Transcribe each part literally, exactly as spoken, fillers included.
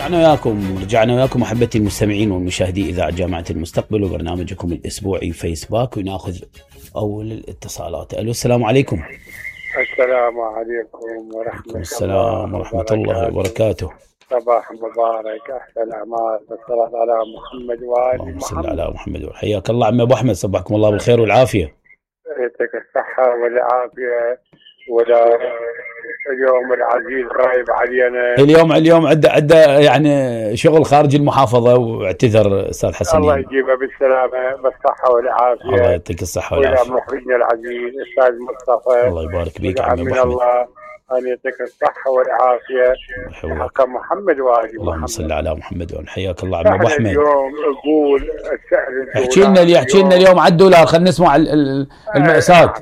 رجعنا وياكم رجعنا وياكم احبتي المستمعين والمشاهدين اذاعه جامعه المستقبل وبرنامجكم الاسبوعي فيسباك، وناخذ اول الاتصالات. الو السلام عليكم. السلام عليكم ورحمه السلام ورحمه الله وبركاته. صباح مبارك، احسن اعمال والصلاه على محمد وآل اللهم صل محمد. على محمد. حياك الله عم ابو احمد، صبحكم الله بالخير والعافيه. يعطيك الصحه والعافيه. ولا اليوم العزيز غايب علينا اليوم اليوم عنده عنده يعني شغل خارج المحافظه، واعتذر استاذ حسن. الله يجيبه بالسلامه بالصحه والعافيه. الله يعطيك الصحه والعافيه. ويا مخرجنا العزيز استاذ مصطفى، الله يبارك بيك عم ابو من احمد. الله ان يعطيك الصحه والعافيه حق محمد وآل محمد. اللهم صل على محمد وآل. حياك الله عم ابو احمد. اليوم اقول السعر احكي لنا اللي احكي لنا اليوم على الدولار، خلينا نسمع المأساة.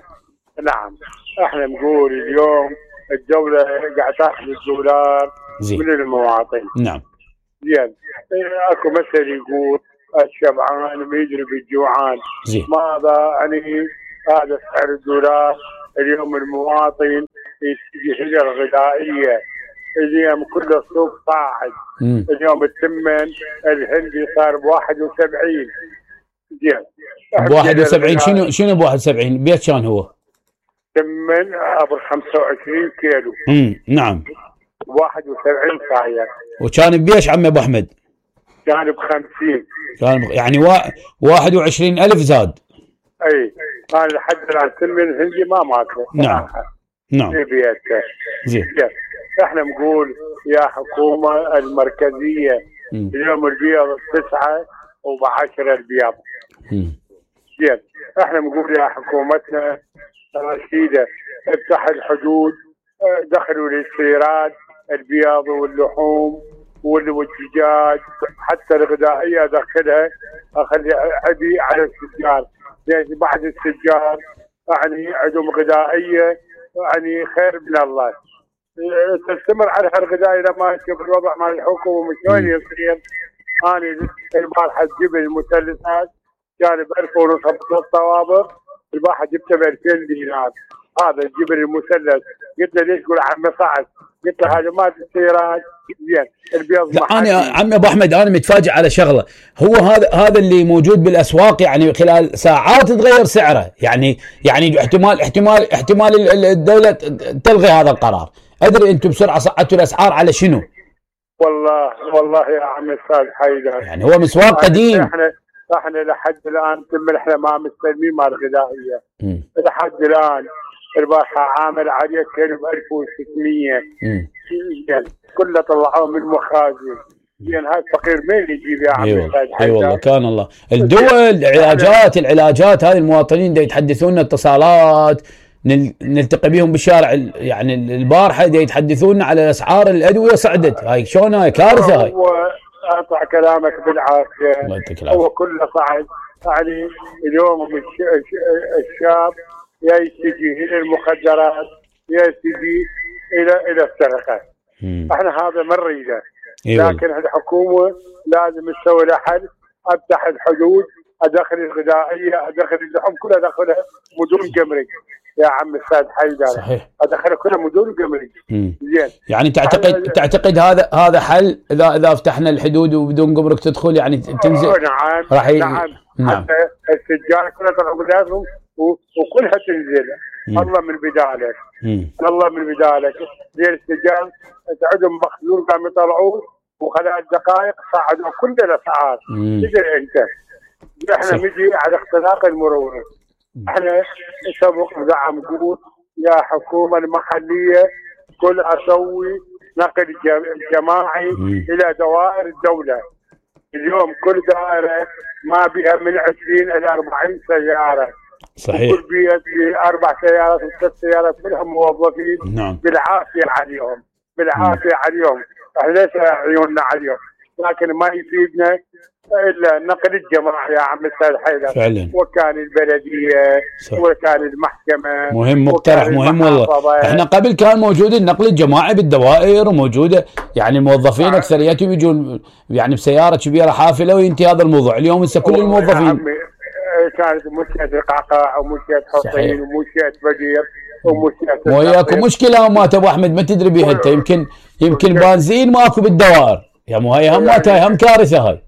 نعم، احنا نقول اليوم الدولة قاعد تاخذ الدولار زي. من المواطن. نعم. زين، اكو مثل يقول الشبعان ما يدري بالجوعان. زي. ماذا يعني هذا سعر الدولار اليوم؟ المواطن يشتري هجر غذائية اليوم كل السوق صاعد. مم. اليوم الثمن الهندي صار ب واحد وسبعين. زين، ب واحد وسبعين شنو شنو ب واحد وسبعين؟ بيت كان هو؟ ثمن ابو خمسة وعشرين كيلو. امم نعم. واحد وسبعين صاير. وكان بيش عم ابو احمد؟ كان ب خمسين. كان ب... يعني و... واحد وعشرين ألف زاد. اي انا لحد الان ثمن الهندي ما ماكو. نعم نعم. في بيته. زين. احنا نقول يا حكومه المركزيه مم. اليوم البيض تسعة وبعشرة البيض. زين، احنا نقول يا حكومتنا رشيده افتح الحدود، دخلوا الاستيراد البيض واللحوم والدجاج، حتى الغذائيه ادخلها، اخلي عبي على التجار، لان بعض التجار يعني عندهم غذائيه يعني خير من الله. تستمر على هالغذاء اذا ما تشوف الوضع مع الحكومه شلون يصير. انا البارحه جبت المثلثات كان ب ألف ونص الطوابق، البارحه جبته ب ألفين دينار. هذا الجبل المثلث قلت له ليش؟ يقول عمي صعد. قلت له هذا ما تسيرات. زين، البيض لا انا عم ابو احمد انا متفاجئ على شغله، هو هذا هذا اللي موجود بالاسواق يعني خلال ساعات تغير سعره، يعني يعني احتمال احتمال احتمال الدوله تلغي هذا القرار. ادري انتم بسرعه صعدتوا الاسعار على شنو؟ والله والله يا عم استاذ حيدر، يعني هو مسواق قديم. احنا احنا لحد الان ثم احنا ما مستلمين مال غذائيه لحد الان. البارحه عامل عليه كيلو ب ألف وستمية. يعني كله طلعوه من المخازن. يعني هذا الفقير مين يجيب يا عم استاذ حيدر؟ اي والله كان الله. الدول العلاجات العلاجات هذه المواطنين دا يتحدثون اتصالات نلتقي بهم بالشارع، يعني البارحه دا يتحدثون على اسعار الادويه صعدت. هاي شلون؟ هاي كارثه. هاي اقطع كلامك بالعافيه. الله يعطيك العافيه. هو كله صعد. يعني اليوم الشاب يا يتجه الى المخدرات يا يتجه الى الى السرقه. احنا هذا ما نريده. لكن الحكومه لازم تسوي لها حل. افتح الحدود، ادخل الغذائيه، ادخل اللحوم كلها ادخلها بدون جمرك يا عم استاذ حيدر. صحيح. ادخلها كلها بدون جمرك. زين، يعني تعتقد تعتقد هذا هذا حل؟ اذا اذا فتحنا الحدود وبدون جمرك تدخل يعني تنزل. نعم راح ي... نعم. نعم. حتى التجار كلها طلعوا غذائهم وكلها تنزل. مم. الله من بدالك. مم. الله من بدالك. زين، التجار عندهم مخزون قاموا يطلعوه وخلال دقائق صعدوا كل الاسعار. تدري انت احنا نجي على اختلاق المرونه. احنا سبق دعم قوت يا حكومه المحليه كل اسوي نقل جماعي مم. الى دوائر الدوله. اليوم كل دائره ما بها من عشرين الى أربعين سياره. صحيح. كل بيت باربع سيارات وثلاث سيارات كلهم موظفين. نعم. بالعافيه عليهم بالعافيه مم. عليهم. احنا ليس عيوننا عليهم، لكن ما يفيدنا الا النقل الجماعي يا عم استاذ حيدر. فعلا. وكان البلديه صح. وكان المحكمه. مهم، مقترح مهم والله. احنا قبل كان موجود النقل الجماعي بالدوائر وموجوده يعني الموظفين اكثريتهم يجون يعني بسياره كبيره حافله وينتهي هذا الموضوع. اليوم هسه كل الموظفين كانت مشكله القعقاع ومشكله حسين ومشكله بدير ومشكله وياكو مشكله ما ابو احمد ما تدري بيها انت. يمكن يمكن بنزين ماكو بالدوائر. يا مو هاي هم يعني هم كارثه هاي.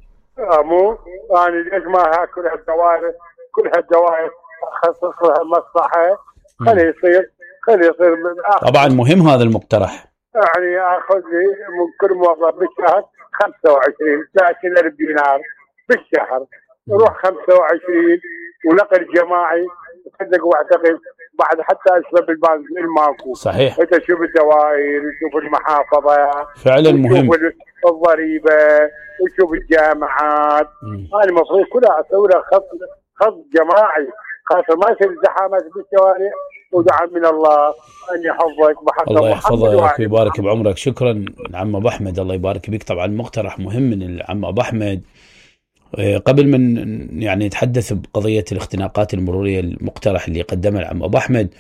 مو يعني ليش ما هاكل هالدوائر كل هالدوائر اخصص لها مصلحه خلي يصير خلي يصير طبعا مهم هذا المقترح. يعني اخذ لي من كل موظف بالشهر خمسة وعشرين ثلاثين ألف دينار بالشهر نروح خمسة وعشرين ونقل جماعي صدق واعتقد بعد حتى اشرب البنزين ماكو. صحيح. انت شوف الدوائر وشوف المحافظه فعلا مهم. وشوف الضريبه وشوف الجامعات هذه المفروض كلها اسوي لها خط خط جماعي خاصه ما يصير زحامات بالشوارع. ودعم من الله ان يحفظك بحق الله يحفظك ويبارك بعمرك. شكرا عم ابو احمد الله يبارك بك. طبعا مقترح مهم من عم ابو احمد. قبل من يعني نتحدث بقضيه الاختناقات المروريه المقترح اللي قدمه العم ابو احمد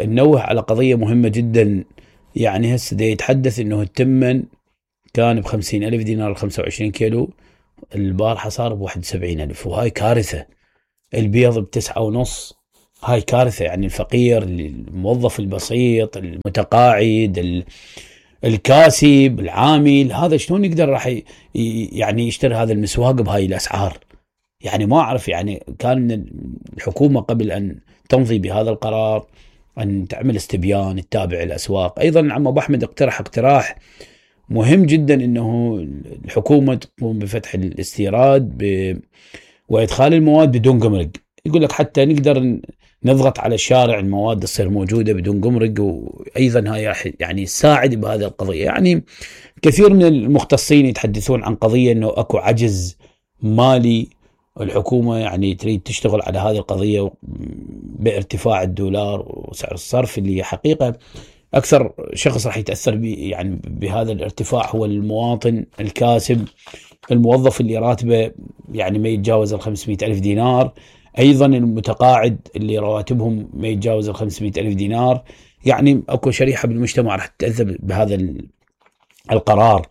ننوه على قضيه مهمه جدا. يعني هسه دا يتحدث انه التمن كان ب خمسين ألف دينار خمسة وعشرين كيلو البارحه صار ب واحد وسبعين ألف وهاي كارثه. البيض بتسعة ونص هاي كارثه. يعني الفقير الموظف البسيط المتقاعد الكاسب العامل هذا شلون يقدر راح يعني يشتري هذا المسواق بهاي الاسعار؟ يعني ما اعرف. يعني كان الحكومه قبل ان تمضي بهذا القرار ان تعمل استبيان تتابع الاسواق. ايضا عم ابو احمد اقترح اقتراح مهم جدا انه الحكومه تقوم بفتح الاستيراد ب... وادخال المواد بدون جمرك. يقول لك حتى نقدر نضغط على الشارع المواد تصير موجوده بدون جمرك. وايضا هاي راح يعني تساعد بهذه القضيه. يعني كثير من المختصين يتحدثون عن قضيه انه اكو عجز مالي. الحكومه يعني تريد تشتغل على هذه القضيه بارتفاع الدولار وسعر الصرف اللي حقيقه اكثر شخص راح يتاثر يعني بهذا الارتفاع هو المواطن الكاسب الموظف اللي راتبه يعني ما يتجاوز ال خمسمئة ألف دينار. ايضا المتقاعد اللي رواتبهم ما يتجاوز ال خمسمئة ألف دينار. يعني اكو شريحه بالمجتمع راح تتاثر بهذا القرار.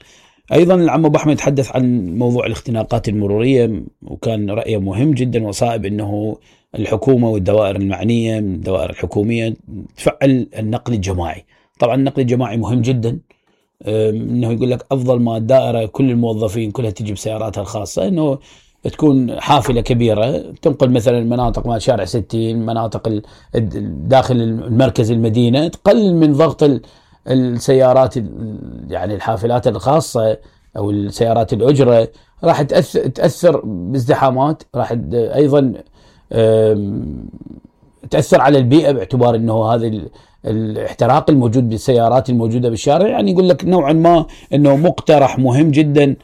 ايضا العم ابو احمد تحدث عن موضوع الاختناقات المروريه وكان رايه مهم جدا وصائب انه الحكومه والدوائر المعنيه من الدوائر الحكوميه تفعل النقل الجماعي. طبعا النقل الجماعي مهم جدا. انه يقول لك افضل ما الدائره كل الموظفين كلها تجي بسياراتها الخاصه انه تكون حافله كبيره تنقل مثلا مناطق مال شارع ستين مناطق داخل المركز المدينه تقلل من ضغط السيارات يعني الحافلات الخاصه او السيارات الاجره راح تاثر تاثر بازدحامات. راح ايضا تاثر على البيئه باعتبار انه هذا الاحتراق الموجود بالسيارات الموجوده بالشارع. يعني يقول لك نوعا ما انه مقترح مهم جدا.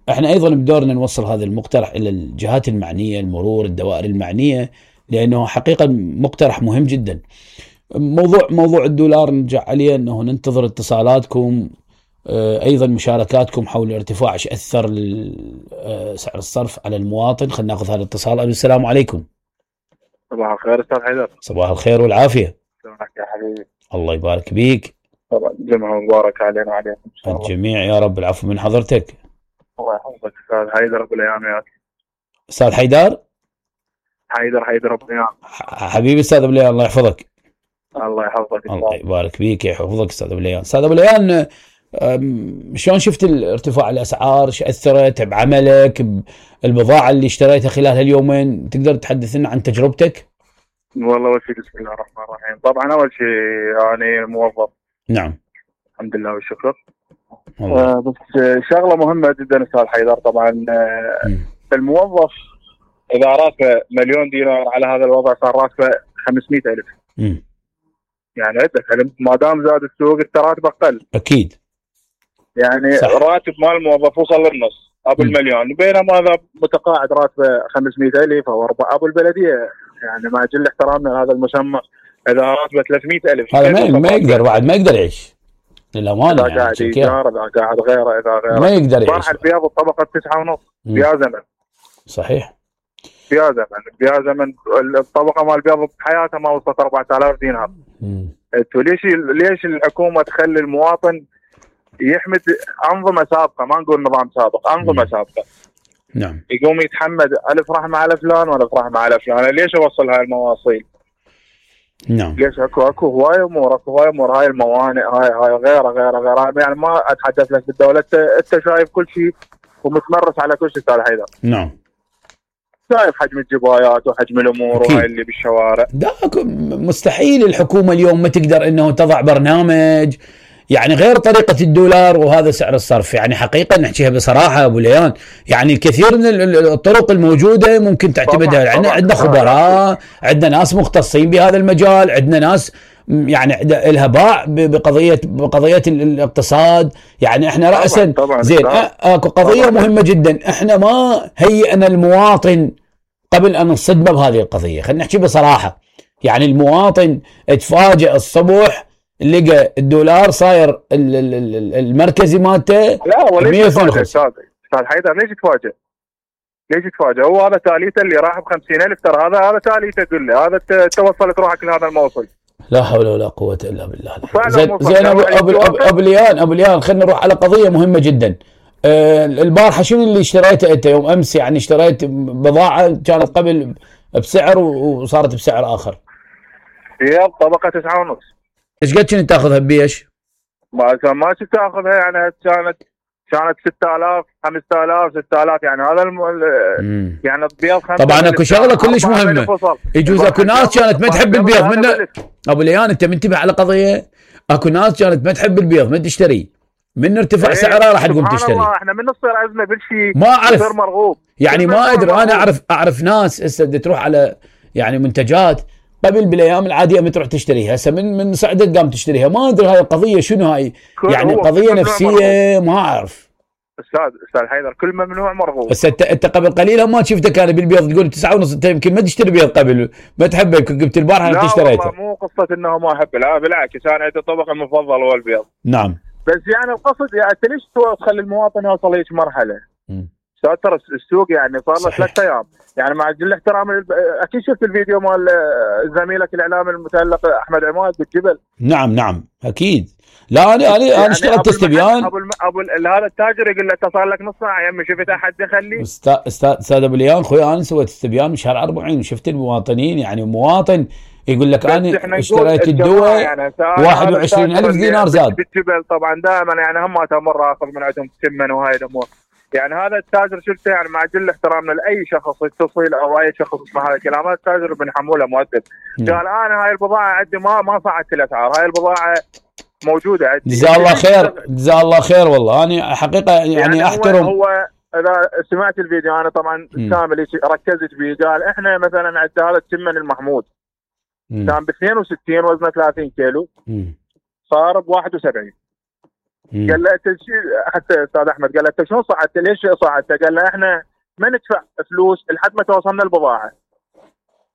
احنا ايضا بدورنا نوصل هذا المقترح الى الجهات المعنيه المرور الدوائر المعنيه لانه حقيقه مقترح مهم جدا. موضوع موضوع الدولار نرجع عليه انه ننتظر اتصالاتكم. ايضا مشاركاتكم حول ارتفاع ايش اثر سعر الصرف على المواطن. خلينا ناخذ هذا الاتصال. السلام عليكم. صباح الخير استاذ حيدر. صباح الخير والعافيه. شلونك يا حبيبي؟ الله يبارك بيك. طبعا جمعة مبارك علينا وعليكم ان شاء الله. الجميع يا رب. العفو من حضرتك. الله يحفظك استاذ حيدر ابو الايام. يا استاذ حيدر حيدر حيدر ابو الايام. حبيبي استاذ ابو الايام الله يحفظك. الله يحفظك. الله يبارك فيك يحفظك استاذ ابو الايام. استاذ ابو الايام شلون شفت الارتفاع الاسعار؟ ايش اثرت بعملك بالبضاعه اللي اشتريتها خلال هاليومين؟ تقدر تحدث لنا عن تجربتك؟ والله اول شيء بسم الله الرحمن الرحيم. طبعا اول شيء يعني موظف. نعم. الحمد لله والشكر. آه بس شغله مهمه جدا استاذ حيدر. طبعا آه الموظف اذا راتبه مليون دينار على هذا الوضع صار راتبه خمسمئة ألف. امم يعني عندك ما دام زاد السوق التراتب اقل. اكيد. يعني صح. راتب مال الموظف وصل للنص ابو المليون بينما هذا متقاعد راتبه خمسمئة ألف او أربعة ابو البلديه يعني مع جل احترامنا لهذا المسمى اذا راتبه ثلاثمئة ألف هذا ما, ما يقدر بعد ما يقدر يعيش للامانه. اذا قاعد ايجار اذا قاعد غيره اذا غيره ما يقدر يعيش. صار البياض الطبقه تسعة ونص بيا زمن. صحيح. بيا زمن بيا زمن الطبقه مال البياض بحياتها ما وصلت أربعة آلاف دينار. انتوا ليش ليش الحكومه تخلي المواطن يحمد انظمه سابقه؟ ما نقول نظام سابق، انظمه سابقه. نعم. يقوم يتحمد الف رحمه على فلان والف رحمه على فلان. ليش اوصل هاي المواصيل؟ نعم. ليش اكو اكو هوايه امور اكو هوايه امور هاي الموانئ هاي هاي غيره غيره غيره يعني ما اتحدث لك بالدوله انت انت شايف كل شيء ومتمرس على كل شيء استاذ حيدر. نعم. شايف حجم الجبايات وحجم الامور وهاي اللي بالشوارع. لا مستحيل الحكومه اليوم ما تقدر انه تضع برنامج يعني غير طريقة الدولار وهذا سعر الصرف. يعني حقيقة نحكيها بصراحة أبو ليان، يعني الكثير من الطرق الموجودة ممكن تعتمدها. يعني عندنا خبراء، عندنا ناس مختصين بهذا المجال، عندنا ناس يعني لها باع بقضية بقضية الاقتصاد. يعني احنا رأسا زين اكو قضية مهمة جدا، احنا ما هيئنا المواطن قبل أن نصدمه بهذه القضية. خلينا نحكي بصراحة، يعني المواطن اتفاجئ الصبح لقى الدولار صاير المركزي مالته لا وليش يتفاجئ استاذ حيدر؟ ليش يتفاجئ؟ ليش يتفاجئ؟ هو هذا تاليته اللي راح ب خمسين ألف ترى هذا هذا تاليته قل لي هذا توصلت روحك لهذا الموصل. لا حول ولا قوة الا بالله. زين زين ابو ابو ابو ليان ابو ليان خلينا نروح على قضية مهمة جدا. آه البارحة شنو اللي اشتريته انت يوم امس؟ يعني اشتريت بضاعة كانت قبل بسعر وصارت بسعر اخر. هي طبقة تسعة ونص. ايش قد كنت تاخذها ببيش؟ ما ما كنت تاخذها يعني كانت كانت ستة آلاف خمسة آلاف ستة آلاف يعني هذا الم... يعني البيض خمسة. طبعا اكو شغله كلش مهمه، يجوز اكو ناس كانت ما تحب البيض من ابو ليان. انت منتبه على قضيه، اكو ناس كانت ما تحب البيض ما تشتري، من ارتفاع سعرها راح تقوم تشتري. احنا من نصير ازمه بالشيء ما اعرف مرغوب يعني ما ادري. انا اعرف اعرف ناس هسه تروح على يعني منتجات قبل بالايام العاديه ما تروح تشتريها، هسه من من صعدت قام تشتريها. ما ادري هاي القضيه شنو هاي، يعني قضيه نفسيه ما اعرف. استاذ استاذ حيدر كل ممنوع مرغوب. هسه انت انت قبل قليل ما شفتك انا بالبيض تقول تسعة ونص، انت يمكن ما تشتري بيض قبل ما تحبه، قلت البارحه انت اشتريته. لا مو قصه انه ما احب، لا بالعكس انا عندي الطبق المفضل هو البيض. نعم. بس يعني القصد يعني انت ليش تخلي المواطن يوصل هيك مرحله؟ استاذ ترى السوق يعني صار له ثلاث ايام، يعني مع كل الاحترام اكيد شفت الفيديو مال زميلك الاعلامي المتالق احمد عماد بالجبل. نعم نعم اكيد. لا انا انا يعني انا اشتغلت استبيان. ابو ابو هذا التاجر يقول له انت صار لك نص ساعه يا عمي شفت احد يخلي. استاذ استاذ استاذ ابو ليان خوي انا سويت استبيان بشهر أربعين وشفت المواطنين، يعني مواطن يقول لك انا اشتريت الدواء يعني واحد وعشرين ألف دينار زاد بالجبل. طبعا دائما يعني هم مره اخذ من عندهم ثمن وهاي الامور. يعني هذا التاجر شفته يعني مع جل احترامنا لاي شخص يتصل او اي شخص يسمع هذا الكلام، هذا التاجر بنحمله مؤدب. قال انا هاي البضاعه عندي ما ما صعدت الاسعار، هاي البضاعه موجوده عندي. جزاه الله خير جزاه الله خير والله. انا حقيقه يعني, يعني احترم. هو, هو اذا سمعت الفيديو انا طبعا كامل ركزت فيه. قال احنا مثلا عندنا هذا التمن المحمود م. كان ب اثنين وستين وزنه ثلاثين كيلو م. صار ب واحد وسبعين. قال له انت حتى استاذ احمد قال له انت شلون صعدت؟ ليش صعدت؟ قال له احنا ما ندفع فلوس لحد ما توصلنا البضاعه.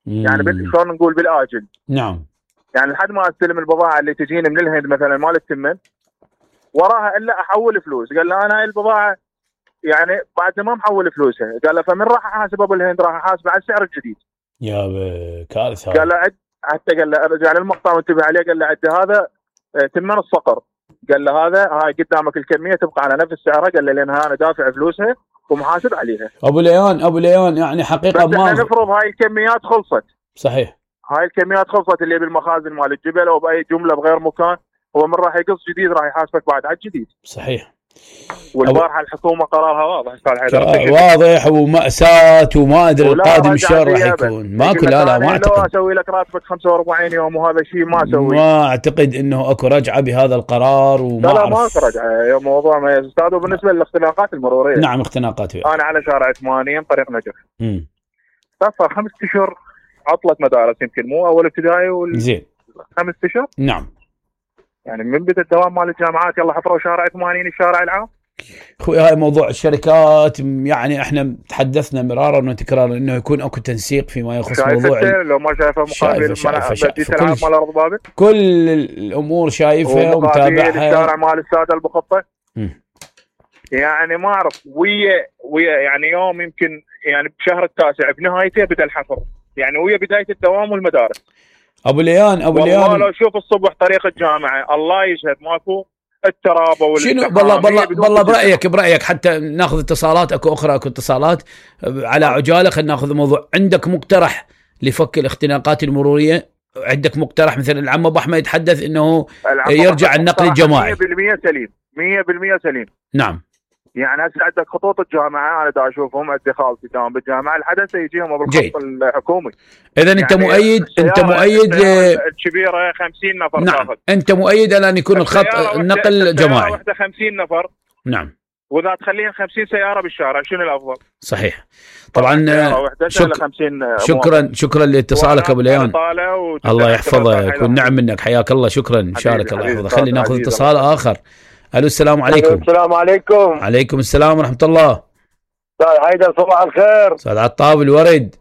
يعني شلون نقول بالاجل. نعم. يعني لحد ما استلم البضاعه اللي تجيني من الهند مثلا مال التمن وراها الا احول فلوس. قال له انا هاي البضاعه يعني بعد ما محول فلوسها. قال له فمن راح احاسب ابو الهند؟ راح احاسب على السعر الجديد. يا كارثه. قال له عد حتى قال له رجع للمقطع وانتبه عليه. قال له عد هذا تمن الصقر. قال له هذا هاي قدامك الكميه تبقى على نفس سعرها. قال له لانها انا دافع فلوسها ومحاسب عليها. ابو ليان ابو ليان يعني حقيقه ما نفرض هاي الكميات خلصت. صحيح. هاي الكميات خلصت اللي بالمخازن مال الجبل او باي جمله بغير مكان، هو من راح يقص جديد راح يحاسبك بعد على الجديد. صحيح. والبارحه الحكومه قرارها واضح واضح ومأساة وما ادري القادم شلون راح يكون. ماكو لا لا ما اعتقد. لو اسوي لك راتبك خمسة وأربعين يوم وهذا شيء ما اسوي. ما اعتقد انه اكو رجعه بهذا القرار وما لا لا ما اكو رجعه. موضوع ما يا استاذ. وبالنسبه للاختناقات المروريه. نعم اختناقات. انا على شارع ثمانين طريق نجف. امم صار خمس اشهر عطله مدارس، يمكن مو اول ابتدائي وال زين خمس اشهر. نعم. يعني من بدا الدوام مال الجامعات يلا حفروا شارع ثمانين الشارع العام. اخوي هاي موضوع الشركات، يعني احنا تحدثنا مرارا وتكرارا انه يكون اكو تنسيق فيما يخص موضوع لو ما شايفه مقابل كل, مال بابل. كل الامور شايفها ومتابعها. الشارع مال الساده البخطه يعني ما اعرف ويا ويا يعني يوم يمكن يعني بشهر التاسع بنهايته بدا الحفر، يعني ويا بدايه الدوام والمدارس. ابو ليان ابو ليان والله لو شوف الصبح طريق الجامعه الله يشهد ماكو الترابه شنو. بالله بالله بالله برايك برايك حتى ناخذ اتصالات. اكو اخرى اكو اتصالات على عجاله. خلينا ناخذ الموضوع. عندك مقترح لفك الاختناقات المروريه عندك مقترح مثل العم ابو احمد يتحدث انه يرجع النقل الجماعي؟ مية بالمية سليم، مية بالمية سليم. نعم. يعني هسه عندك خطوط الجامعه انا دا اشوفهم عندي خالتي داوم بالجامعه الحدث يجيهم بالخط الحكومي. اذا انت يعني مؤيد انت مؤيد الكبيره خمسين نفر. نعم تاخذ. انت مؤيد على ان يكون الخط النقل جماعي. واحده خمسين نفر. نعم. واذا تخليها خمسين سياره بالشارع شنو الافضل؟ صحيح. طبعا شك... شكرا شكرا لاتصالك ابو ليان، الله يحفظك والنعم منك، حياك الله، شكرا، شارك الله يحفظك. خلينا ناخذ اتصال اخر. الو السلام عليكم. السلام عليكم. عليكم السلام ورحمه الله. استاذ حيدر صباح الخير. استاذ عطاب الورد،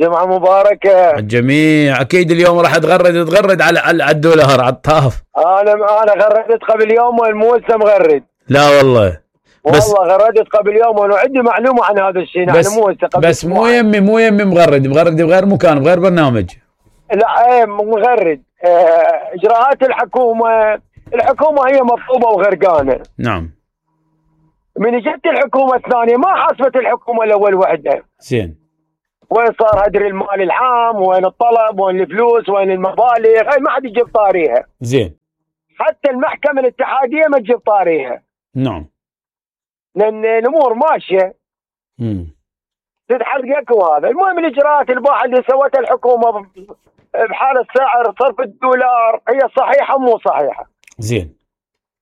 جمعه مباركه الجميع. اكيد اليوم راح تغرد تغرد على على الدولار عطاف. انا انا غردت قبل يوم مو لسه مغرد. لا والله بس والله غردت قبل يوم وانا عندي معلومه عن هذا الشيء. بس مو بس مو يمي مو يمي مغرد مغرد بغير مكان بغير برنامج. لا ايه مغرد. اه اجراءات الحكومه الحكومه هي مطلوبه وغرقانه. نعم. من جت الحكومه الثانيه ما حاسبت الحكومه الاول وحده. زين. وين صار هدر المال العام، وين الطلب، وين الفلوس، وين المبالغ، هاي ما حد يجيب طاريها. زين. حتى المحكمه الاتحاديه ما تجيب طاريها. نعم. لان الامور ماشيه. امم تتحقق. وهذا المهم الاجراءات الباحه اللي سوتها الحكومه بحال السعر صرف الدولار هي صحيحه مو صحيحه. زين.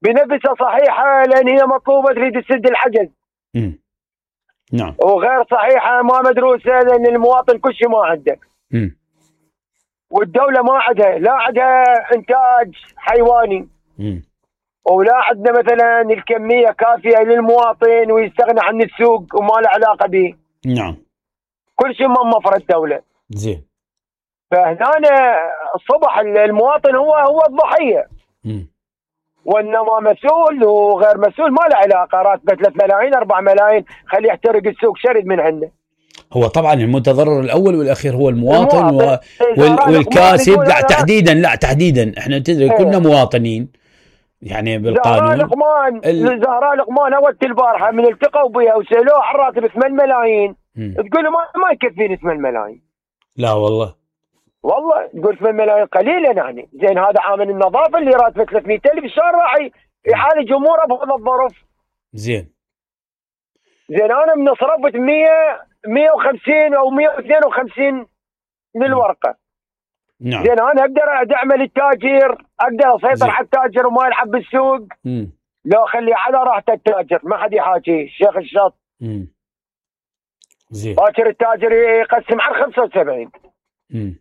بنفسها صحيحه لان هي مطلوبه تريد تسد الحجز. امم نعم. وغير صحيحه ما مدروسه لان المواطن كل شيء ما عنده. امم والدوله ما عندها، لا عندها انتاج حيواني. امم ولا عندنا مثلا الكميه كافيه للمواطن ويستغنى عن السوق وما له علاقه به. نعم. كل شيء موفر الدوله. زين. فهنا الصبح المواطن هو هو الضحيه. امم وانما مسؤول وغير مسؤول ما له علاقه، راتبه ثلاث ملايين أربع ملايين خليه يحترق السوق شرد من عنده. هو طبعا المتضرر الاول والاخير هو المواطن, المواطن. و... وال... والكاسب. لا تحديدا لا تحديدا احنا تدري كلنا مواطنين يعني بالقانون. زهراء لقمان ال... زهراء لقمان اول البارحه من التقوا بها وسالوه عن راتب ثمانية ملايين. م. تقول له ما, ما يكفيني ثمانية ملايين. لا والله والله تقول ثمانية ملايين قليله يعني. زين هذا عامل النظافه اللي راتبه ثلاثمية ألف شلون راح يعالج اموره بهذا الظرف؟ زين. زين انا من صرفت مية مية وخمسين او مية واثنين وخمسين للورقه. نعم. زين انا اقدر ادعم التاجر، اقدر اسيطر على التاجر وما يلعب بالسوق. امم لو اخليه على راحته التاجر ما حد يحاكيه الشيخ الشط. امم زين. باكر التاجر يقسم على خمسة وسبعين. امم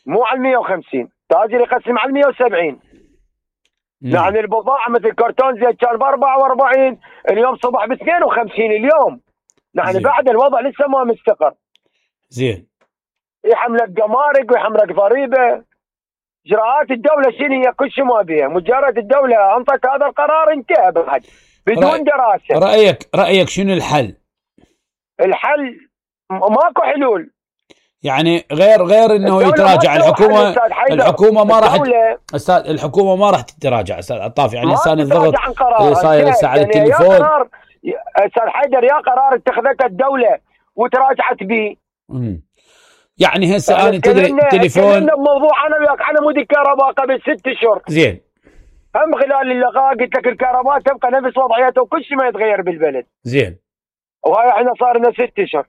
مو على مية وخمسين، تاجر يقسم على مية وسبعين. يعني البضاعه مثل كرتون زيت كان ب أربعة وأربعين اليوم صبح ب اثنين وخمسين اليوم. يعني بعد الوضع لسه ما مستقر. زين. يحملك جمارك ويحملك ضريبه. اجراءات الدوله شنو هي؟ كل شيء ما بيها، مجرد الدوله انطت هذا القرار انتهى بعد بدون رأي... دراسه. رايك رايك شنو الحل؟ الحل ماكو حلول. يعني غير غير انه يتراجع الحكومه. الحكومه ما راح استاذ الحكومه ما راح تتراجع استاذ عطاف. يعني لسان الضغط صاير هسه على التليفون. استاذ حيدر يا قرار اتخذته الدوله وتراجعت به. امم يعني هسه انا تدري التليفون بموضوع انا وياك على مود الكهرباء قبل ست اشهر. زين. هم خلال اللقاء قلت لك الكهرباء تبقى نفس وضعيتها وكل شيء ما يتغير بالبلد. زين. وهاي احنا صار لنا ست اشهر.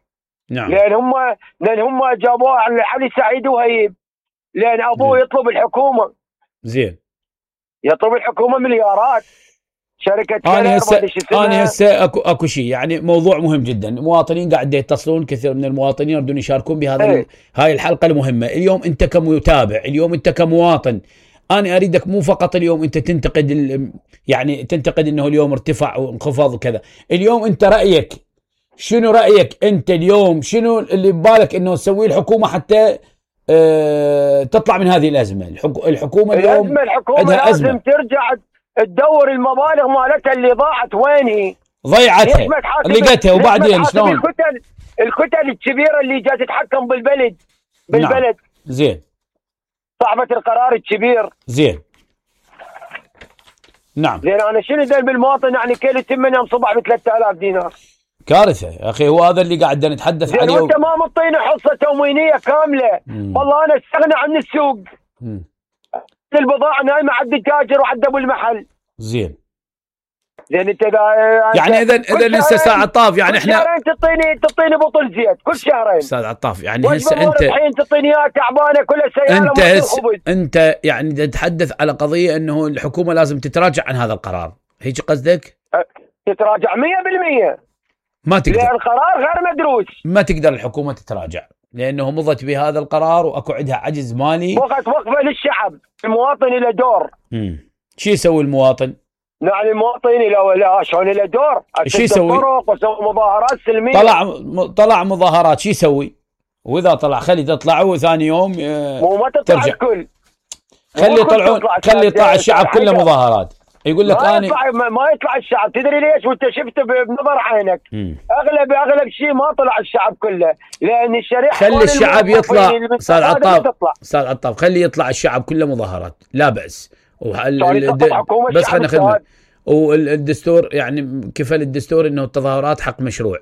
نعم. لان هم لان هم جابوه على علي سعيد وهيب. لان ابوه يطلب الحكومه. زين. يطلب الحكومه مليارات. شركه انا هسه انا هسه اكو اكو شيء يعني موضوع مهم جدا. المواطنين قاعد يتصلون، كثير من المواطنين يريدون يشاركون بهذا ايه. هاي الحلقه المهمه. اليوم انت كمتابع، اليوم انت كمواطن، انا اريدك مو فقط اليوم انت تنتقد يعني تنتقد انه اليوم ارتفع وانخفض وكذا. اليوم انت رايك شنو؟ رايك انت اليوم شنو اللي ببالك انه تسويه الحكومه حتى اه تطلع من هذه الازمه؟ الحكومه اليوم الازمه الحكومه لازم أزمة. ترجع تدور المبالغ مالتها اللي ضاعت وين هي؟ ضيعتها لقيتها وبعدين شلون؟ الكتل الكتل الكبيره اللي جات تتحكم بالبلد بالبلد. نعم. زين. صاحبه القرار الكبير. زين. نعم. زين انا شنو دل بالمواطن يعني كيلو تمن يوم صبح ب ثلاثة آلاف دينار. كارثه يا اخي، هو هذا اللي قاعد نتحدث عليه. وانت ما مطيني حصه تموينيه كامله. مم. والله انا استغنى عن السوق. مم. البضاعه نايمه عند التاجر وعند ابو المحل. زين زين انت يعني اذا اذا هسه استاذ عطاف يعني احنا شهرين تعطيني تعطيني بطل زيت كل شهرين. استاذ عطاف يعني هسه انت الحين تعطيني اياها تعبانه كلها سياره. انت هس انت يعني تتحدث على قضيه انه الحكومه لازم تتراجع عن هذا القرار، هيك قصدك؟ تتراجع مية بالمية. ما تقدر، لأن القرار غير مدروس. ما تقدر الحكومه تتراجع لانه مضت بهذا القرار واكو عندها عجز مالي. وقت وقفه للشعب، المواطن له دور. امم شو يسوي المواطن؟ يعني المواطن له لا شلون له دور؟ شو يسوي؟ وسوي مظاهرات سلميه. طلع طلع مظاهرات شو يسوي؟ واذا طلع خلي تطلع وثاني يوم مو ما تطلع ترجع. الكل خلي يطلعون، خلي يطلع الشعب كله مظاهرات. يقول لك ما انا يطلع ما يطلع الشعب. تدري ليش؟ وانت شفته بنظر عينك. مم. اغلب اغلب شيء ما طلع الشعب كله، لان الشريحه خلي الشعب يطلع. استاذ عطاف استاذ عطاف خلي يطلع الشعب كله مظاهرات لا باس. وال... بس خلينا نخدمه. والدستور يعني كفل الدستور انه التظاهرات حق مشروع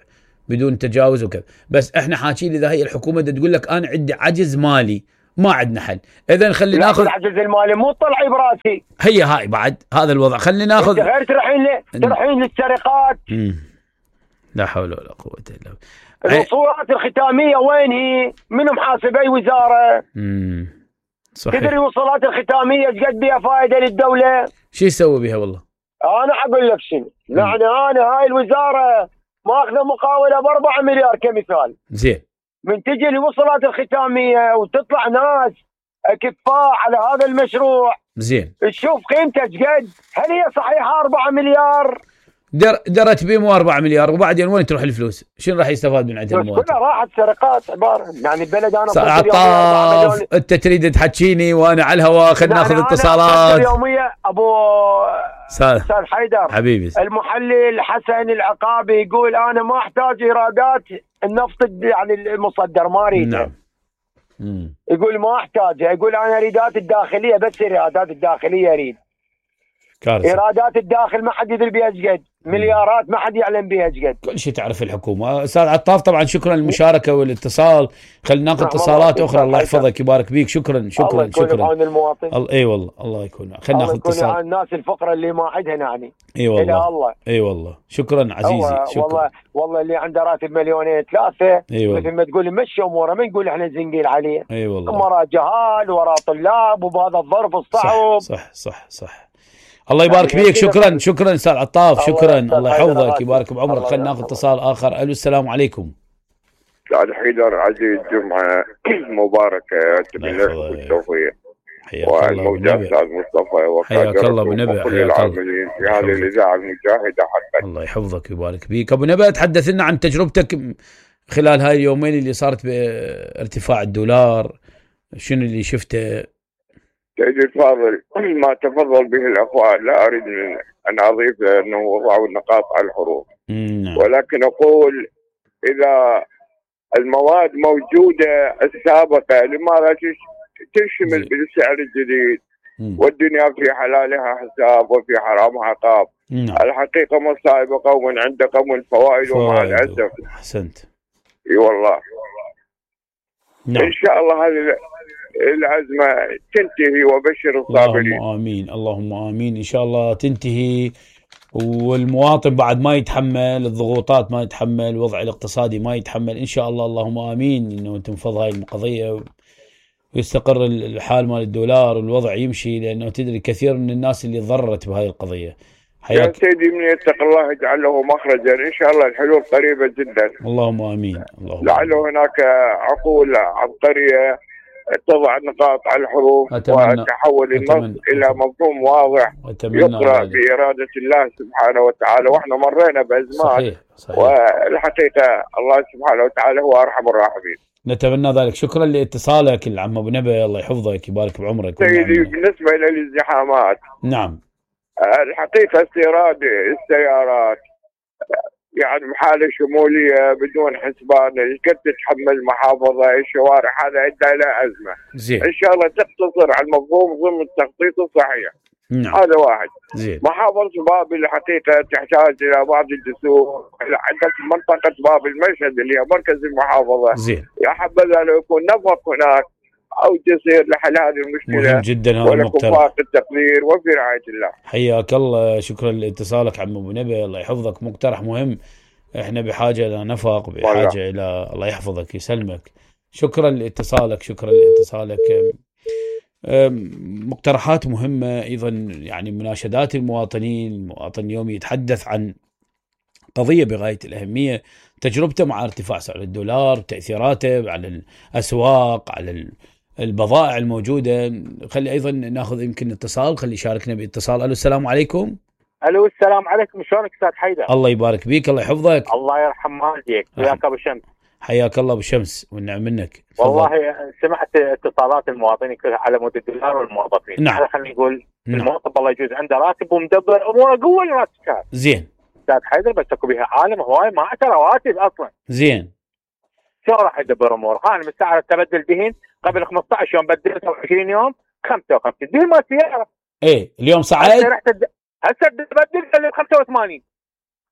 بدون تجاوز وكذا، بس احنا حاكيين اذا هي الحكومه تقول لك انا عندي عجز مالي ما عندنا حل، اذا خلي ناخذ العجز المالي مو طلعي براسي. هي هاي بعد هذا الوضع خلي ناخذ غير تروحين ل... تروحين للسرقات. لا حول ولا قوه الا بالله. الوصولات الختاميه وين هي؟ منو محاسب اي وزاره؟ امم صحيح. تدري الوصولات الختاميه ايش قد بها فائده للدوله؟ شو يسوي بها والله؟ انا اقول لك شنو، يعني انا هاي الوزاره ماخذه مقاوله ب أربعة مليار كمثال. زين. من تجي الوصلات الختاميه وتطلع ناس اكفاء على هذا المشروع. زين. تشوف قيمته ايش قد؟ هل هي صحيحه أربعة مليار؟ در درت بيه مو أربعة مليار، وبعدين وين تروح الفلوس؟ شنو راح يستفاد من عندها المواطن؟ كلها راحت سرقات عباره، يعني البلد انا عطاف انت تريد تحكيني وانا على الهواء. خلينا ناخذ اتصالات. اليوميه ابو استاذ حيدر حبيبي. المحلل حسن العقابي يقول انا ما احتاج ايرادات النفط يعني المصدر ما اريده. نعم. مم. يقول ما احتاجها، يقول انا ايرادات الداخليه بس، ايرادات الداخليه اريد. كارثة. ايرادات الداخل ما حد يدري بها ايش قد، مليارات ما حد يعلم بها ايش قد. كل شيء تعرف الحكومه. استاذ عطاف طبعا شكرا للمشاركه والاتصال. خلينا ناخذ اتصالات اخرى. الله يحفظك يبارك بيك. شكرا شكرا الله يكون شكرا. بعون المواطن. اي أيوة والله الله يكون. خلينا ناخذ اتصال. الناس الفقراء اللي ما عندها يعني. اي أيوة والله. الله. اي أيوة والله. شكرا عزيزي. شكرا. والله والله اللي عنده راتب مليونين ثلاثه. اي أيوة مثل ما تقول مشي اموره، ما نقول احنا زنقين عليه. اي أيوة والله. وراه جهال وراه طلاب وبهذا الظرف الصعب. صح صح صح, صح. الله يبارك فيك. شكرا شكرا استاذ عطاف. شكرا الله يحفظك يبارك بعمرك. خلينا ناخذ اتصال اخر. الو السلام عليكم. استاذ حيدر عزيز جمعه مباركه بالنسبه والتوفيق. حياك الله والموجة استاذ مصطفى حياك الله ابو نبع. كل العاملين في هذه الاذاعه المجاهده حقا. الله يحفظك ويبارك فيك. ابو نبع تحدث لنا عن تجربتك خلال هاي اليومين اللي صارت بارتفاع الدولار، شنو اللي شفته؟ سيدي الفاضل ما تفضل به الاخوان لا اريد ان اضيف انه وضعوا النقاط على الحروف، ولكن اقول اذا المواد موجوده السابقه لماذا تشمل بالسعر الجديد؟ والدنيا في حلالها حساب وفي حرامها عقاب. الحقيقه مصائب قوم عند قوم فوائد ومع الاسف. احسنت. اي والله. نعم. ان شاء الله هذه الأزمة تنتهي وبشر الصابرين. اللهم آمين اللهم آمين. إن شاء الله تنتهي والمواطن بعد ما يتحمل الضغوطات، ما يتحمل الوضع الاقتصادي، ما يتحمل إن شاء الله. اللهم آمين إنه تنفض هاي القضية ويستقر الحال مال الدولار والوضع يمشي، لأنه تدري كثير من الناس اللي ضررت بهاي القضية. يا سيدي من يتق الله يجعل له مخرجا. إن شاء الله الحلول قريبة جدا. اللهم آمين اللهم لعله هناك عقول عبقرية تضع النقاط على الحروف وتحول النص إلى مفهوم واضح يقرأ بإرادة الله سبحانه وتعالى. وإحنا مرينا بأزمات. صحيح صحيح. والحقيقة الله سبحانه وتعالى هو أرحم الراحمين. نتمنى ذلك. شكرا لاتصالك العم أبو نبع. الله يحفظك يبارك بعمرك. سيدي بالنسبة إلى الازدحامات، نعم الحقيقة استيراد السيارات يعني بحالة شمولية بدون حسبان قد تتحمل محافظة الشوارع، هذا أدى إلى أزمة. زين. إن شاء الله تقتصر على المفهوم ضمن التخطيط الصحيح. نعم. هذا واحد. زين. محافظة بابل الحقيقة تحتاج إلى بعض الجسور. عندك منطقة باب المشهد اللي هي مركز المحافظة. زين. يا حبذا لو يكون نفق هناك أو جسير لحل هذه المشكلة. مهم جدا هذا المقترح. ولكم فاق التقدير وفي رعاية الله. حياك الله، شكرا لاتصالك عم أبو نبي، الله يحفظك، مقترح مهم. احنا بحاجة إلى نفق، بحاجة إلى، الله يحفظك يسلمك. شكرا لاتصالك، شكرا لاتصالك. مقترحات مهمة أيضا، يعني مناشدات المواطنين. المواطن اليوم يتحدث عن قضية بغاية الأهمية، تجربته مع ارتفاع سعر الدولار، تأثيراته على الأسواق، على البضائع الموجودة. خلي أيضا ناخذ يمكن اتصال، خلي يشاركنا باتصال. ألو السلام عليكم. الو السلام عليكم، شلونك استاذ حيدر؟ الله يبارك بيك، الله يحفظك. الله يرحم والديك، وياك ابو شمس. حياك الله ابو شمس والنعم منك. والله سمعت اتصالات المواطنين كلها على مود الدولار والموظفين. نعم. خلينا نقول نعم. الموظف الله يجوز عنده راتب ومدبر اموره قوه لراتب. زين. استاذ حيدر بس اكو بها عالم هواي ما عنده رواتب اصلا. زين. شو راح يدبر اموره؟ انا من ساعه تبدل دهين قبل خمسة عشر يوم بدلته وعشرين يوم خمسة وخمسين دهين مال سياره. ايه اليوم صعد؟ هسه بدل اللي ب خمسة وثمانين.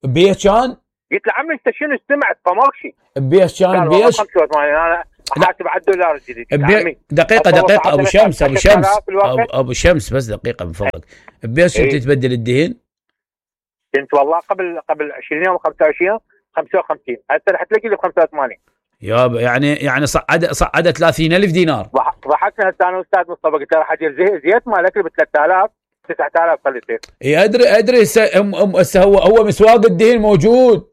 بيش كان؟ قلت له عمي انت شنو استمعت فماكشي؟ بيش كان بيش؟ خمسة وثمانين انا حاسب على الدولار الجديد. بي... دقيقة دقيقة ابو شمس ابو شمس أبو, ابو شمس بس دقيقة من فضلك. بيش إيه؟ تتبدل الدهين؟ كنت والله قبل قبل عشرين يوم خمسة وعشرين يوم خمسة وخمسين، هسه راح تلاقي لي ب خمسة وثمانين. يا يعني يعني صعد صعد ثلاثين ألف دينار. ضحكنا هسه انا واستاذ مصطفى قلت له راح اجيب زيت مالك ب ثلاثة آلاف تسعة آلاف خلي يصير. اي ادري ادري هسه هو هو مسواق الدهين موجود.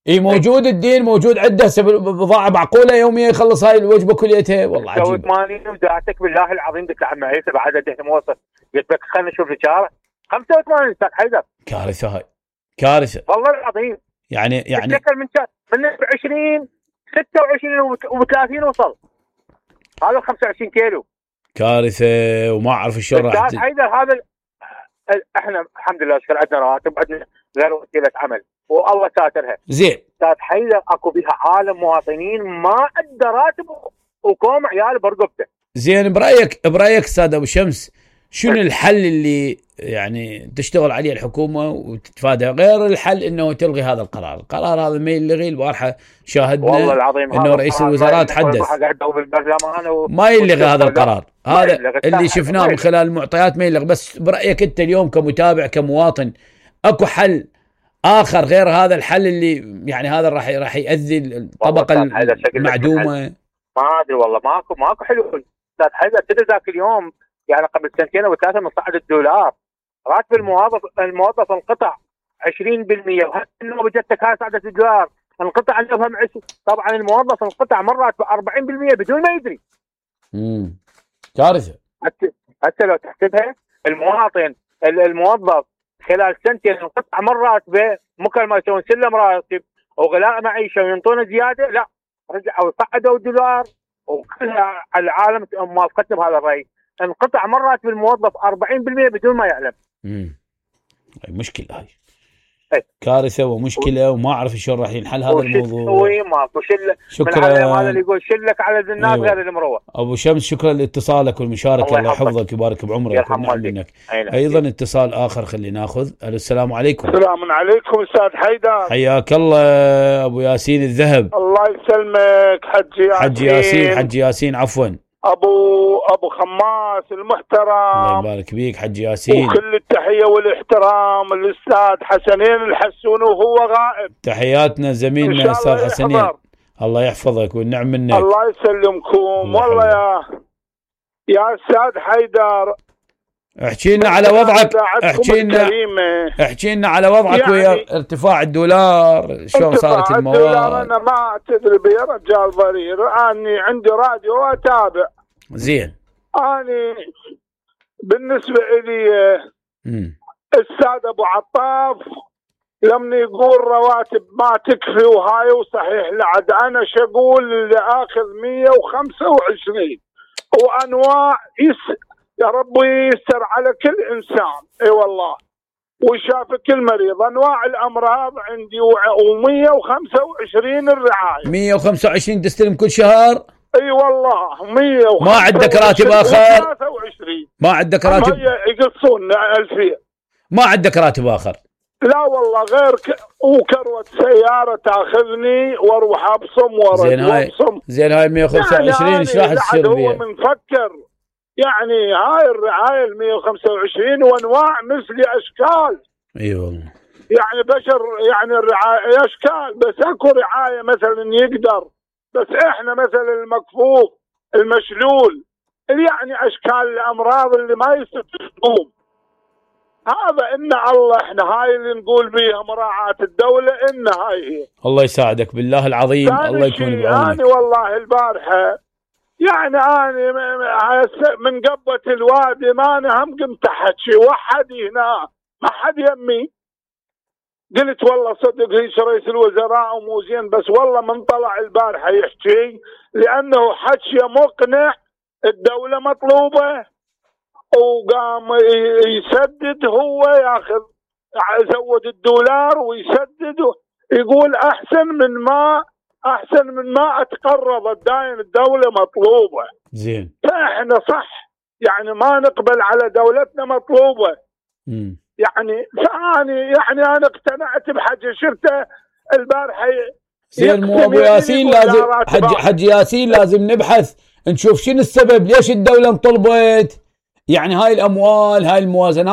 اي موجود الدين موجود عنده بضاعه معقوله يوميا يخلص هاي الوجبه كليتها. والله عجيب. ثمانين ودعتك بالله العظيم قلت له عم عيسى بعد الدهن موصل قلت لك خلينا نشوف الاشاره خمسة وثمانين استاذ حيدر. كارثه هاي كارثه والله العظيم. يعني يعني اتذكر من من عشرين ستة وعشرين وثلاثين وصل هذا خمسة وعشرين كيلو. كارثه وما اعرف شلون راح. استاذ حيدر هذا احنا الحمد لله اشكر عندنا رواتب عندنا غير وسيله عمل والله ساترها. زين. استاذ حيدر اكو بها عالم مواطنين ما عنده راتب وكوم عيال برقبته. زين برايك برايك استاذ ابو شمس شنو الحل اللي يعني تشتغل عليه الحكومه وتتفادى غير الحل انه تلغي هذا القرار؟ القرار هذا ما يلغي. البارحه شاهدنا والله العظيم انه رئيس الوزراء تحدث و... ما يلغي هذا القرار. هذا اللي شفناه من خلال المعطيات ما يلغي. بس برايك انت اليوم كمتابع كمواطن اكو حل اخر غير هذا الحل اللي يعني هذا راح راح يؤذي الطبقه المعدومه؟ ما ادري والله ماكو ماكو حلول. استاذ حيدر تدري ذاك اليوم يعني قبل سنتين او ثلاثه من صعد الدولار راتب الموظف الموظف انقطع عشرين بالمئة وهسه النوبه جتك هاي صعدت الدولار انقطع النوبه مع طبعا الموظف انقطع مرات ب أربعين بالمئة بدون ما يدري. امم كارثه. حتى لو تحسبها المواطن الموظف خلال سنتين انقطع مرات بمكالمه يسوون سلم راتب وغلاء معيشه وينطون زياده لا رجعوا صعدوا الدولار وكلها العالم موافقتنا بهذا الراي. انقطع مرات بالموظف أربعين بالمئة بدون ما يعلم. امم مشكله هاي. أي. كارثه ومشكله وما اعرف شلون راح ينحل هذا الموضوع. وي ماكو شل. شكرا. هذا اللي يقول شلك على الناس أيوة. غير المروه. ابو شمس شكرا لاتصالك والمشاركه. الله يحفظك ويبارك بعمرك ونعم منك. ايضا اتصال اخر خلينا ناخذ. السلام عليكم. السلام عليكم استاذ حيدر. حياك الله ابو ياسين الذهب. الله يسلمك حج ياسين. حج ياسين حج ياسين عفوا. ابو ابو خماس المحترم. الله يبارك بيك حج ياسين. وكل التحيه والاحترام الاستاذ حسنين الحسون وهو غائب. تحياتنا زميلنا استاذ حسنين. الله يحفظك والنعم منك. الله يسلمكم. والله يا يا استاذ حيدر احكي لنا على وضعك. احكي لنا احكي لنا على وضعك يعني ويا ارتفاع الدولار شلون صارت المواد. انا ما تدري يا رجال ضرير اني عندي راديو واتابع. زين. اني بالنسبه لي استاذ ابو عطاف لما يقول رواتب ما تكفي وهاي وصحيح لعد انا شقول اللي اخذ مية وخمسة وعشرين وانواع يس يا رب ييسر على كل انسان. اي والله وشاف كل مريض انواع الامراض عندي ومية وخمسة وعشرين الرعايه. مية وخمسة وعشرين تستلم كل شهر؟ اي والله مية وخمسة وعشرين ما عندك راتب اخر؟ ثلاثة وعشرين ما عندك راتب؟ يقصون ألفين. ما عندك راتب اخر؟ لا والله غير ك... وكروة سيارة تاخذني واروح ابصم ورد زين هاي زين هاي مية وخمسة وعشرين ايش راح تصير بيها؟ هو منفكر يعني هاي الرعاية ال مية وخمسة وعشرين وانواع مثل اشكال. اي والله يعني بشر يعني الرعاية اشكال، بس اكو رعاية مثلا يقدر، بس احنا مثلا المكفوف المشلول يعني اشكال الامراض اللي ما يستطيعون. هذا ان الله احنا هاي اللي نقول بيها مراعاة الدولة، ان هاي هي. الله يساعدك بالله العظيم، الله يكون بعونك. أنا والله البارحة يعني أنا من قبة الوادي ما أنا هم قمت أحكي وحد هنا ما حد يمي. قلت والله صدق ليش رئيس الوزراء ومو زين، بس والله من طلع البارحة يحكي لأنه حكي مقنع. الدولة مطلوبة وقام يسدد، هو ياخذ زود الدولار ويسدد، يقول احسن من ما احسن من ما اتقرض الداين، الدوله مطلوبه. زين فاحنا صح يعني ما نقبل على دولتنا مطلوبه. امم يعني ثاني يعني انا اقتنعت بحاجه شفته البارحه. زين مو ابو ياسين لازم حج حج ياسين لازم نبحث نشوف شنو السبب، ليش الدوله انطلبت يعني هاي الاموال هاي الموازنات